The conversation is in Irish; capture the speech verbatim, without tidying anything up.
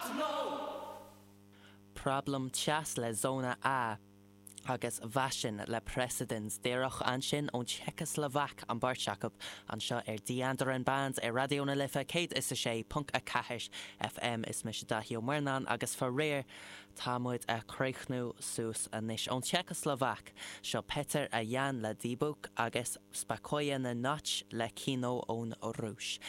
Got to know. Problem Chess le Zona A agus Vashin le Precedence díreach ansin ón Tseiceaslóvaic an bheirt acu anseo ar The Band ar Raidió na Life céad is a sé ponc a ceathair FM is mise Daithí Ó Murnáin agus faraor tá muid ag críochnú suas anois ón Tseiceaslóvaic seo Peter a Jan le Dybbuk agus Spokojna Noc le Kino ón Rúis.